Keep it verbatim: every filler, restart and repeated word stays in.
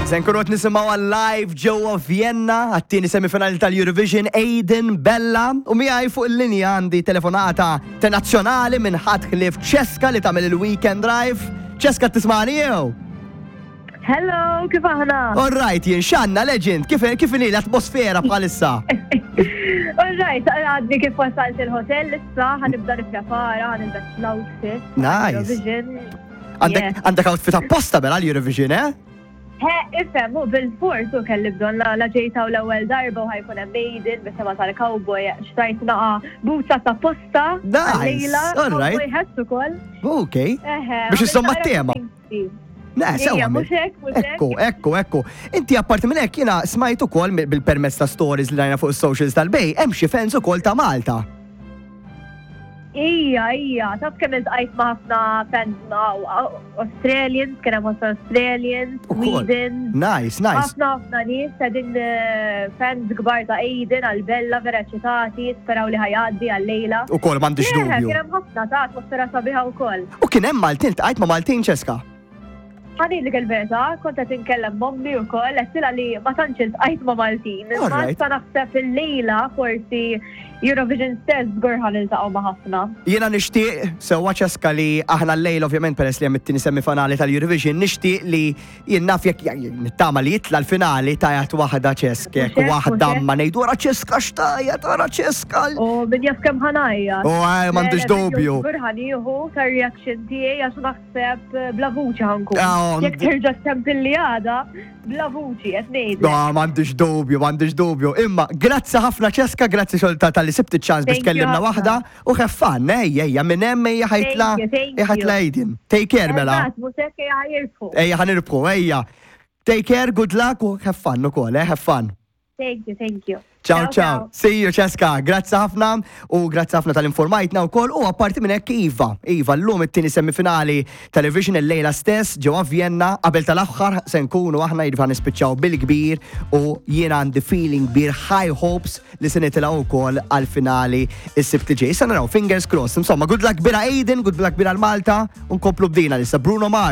Se nkunu qed nisimgħu live ġewwa Vienna għat-tieni semifinali tal-Eurovision, Aiden Bella, u miegħi fuq il-linja għandi telefonata internazzjonali minn ħadd ħlief Ċeska li tagħmel il-Weekend Drive. Ċeska, tismani jew? Hello, kif aħna? All right, jien xanna legend, kif kif inhi l-atmosfera bħalissa? All right, għadni kif wasalt il-hotel issa, ħa nibda nipprepara, ħa nilbes l-outfit. Nice. Eurovision. Għandek Yes. Għandek outfit apposta bela l-Eurovision, eh? He, ifhem, u bil-fors u kelli bżonn la la ġejta u l-ewwel darba u ħa jkun hemm Aiden bit-tema tal-cowboy, xtrajt naqa boots apposta. Nice, għal-lejla, all right. Cowboy hats ukoll. Ok. Eħe. Biex insomma t-tema. Ne, sewa. Ija, mhux hekk, mhux hekk. Ekku, ekku, ekku. Inti apparti minn hekk jiena smajt ukoll bil-permezz ta' stories li rajna fuq is-socials tal-Bay, hemm xi fans ukoll ta' Malta. Ija, ija, taf kemm iltqajt ma' ħafna fans ma' Australians, kien hemm ħafna Australians, Ukoll. Sweden. Nice, nice. Ħafna ħafna nies qegħdin eh, fans kbar ta' Aiden għal Bella, vera eċitati, speraw li ħa jgħaddi għal-lejla. Ukoll m'għandix Eħe, dubju. kien hemm ħafna ta' atmosfera sabiħa wkoll. U kien hemm Maltin, ltqajt ma' Maltin, Ċeska? Ħa ngħidlek il-verità, kont qed inkellem m'ommi wkoll, għedtilha li ma tantx iltqajt ma' Maltin. All Ma right. issa naħseb il-lejla forsi Eurovision stess żgur ħa niltaqgħu ma' ħafna. Jiena nixtieq sewwa, Ċeska, li aħna l-lejl ovvjament, peress li hemm it-tieni semifinali tal-Eurovision, nixtieq li jien naf jekk nittama li jitla l-finali tajat waħda Ċeska, jekk Mhux hekk, waħda mhux hekk. ma ngħidu wara Ċeska x'tajat, wara Ċeska. U min jaf kemm ħa ngħajjat. U għaj, m'għandix dubju. Żgur ħa nieħu tar-reaction tiegħi għax naħseb bla vuċi ħa nkun. Ah, Jekk terġa' ċempilli għada, bla vuċi qed ngħidlek. No, m'għandix dubju, m'għandix dubju. Imma, grazzi ħafna, Ċeska, grazzi xolta tal-li sibt iċ-ċans biex Thank you tkellimna ħafna. waħda u have fun, ejja, ejja, minn hemm ejja ħa jitla', Thank you, thank ejja ħa jitla' you. Aiden. Take care, mela. Eżatt, mhux hekk, ejja jirbħu. Ejja ħa nirbħu, ejja. Take care, good luck u have fun ukoll, eh, have fun. Thank you, thank you. Ciao, ciao. See you, Ċeska. Grazzi ħafna u grazzi ħafna tal-informajtna wkoll u apparti minn hekk iva. Iva, llum it-tieni semifinali Television, il-lejla stess ġewwa Vienna, qabel tal-aħħar se nkunu aħna jiġifieri nispiċċaw bil-kbir u jiena għandi feeling kbir, high hopes li se nitilgħu wkoll għal-finali is-Sibt li ġej. Issa naraw, fingers crossed. Insomma, good luck bira Aiden, good luck bira l-Malta u nkomplu bdina lissa Bruno Mars.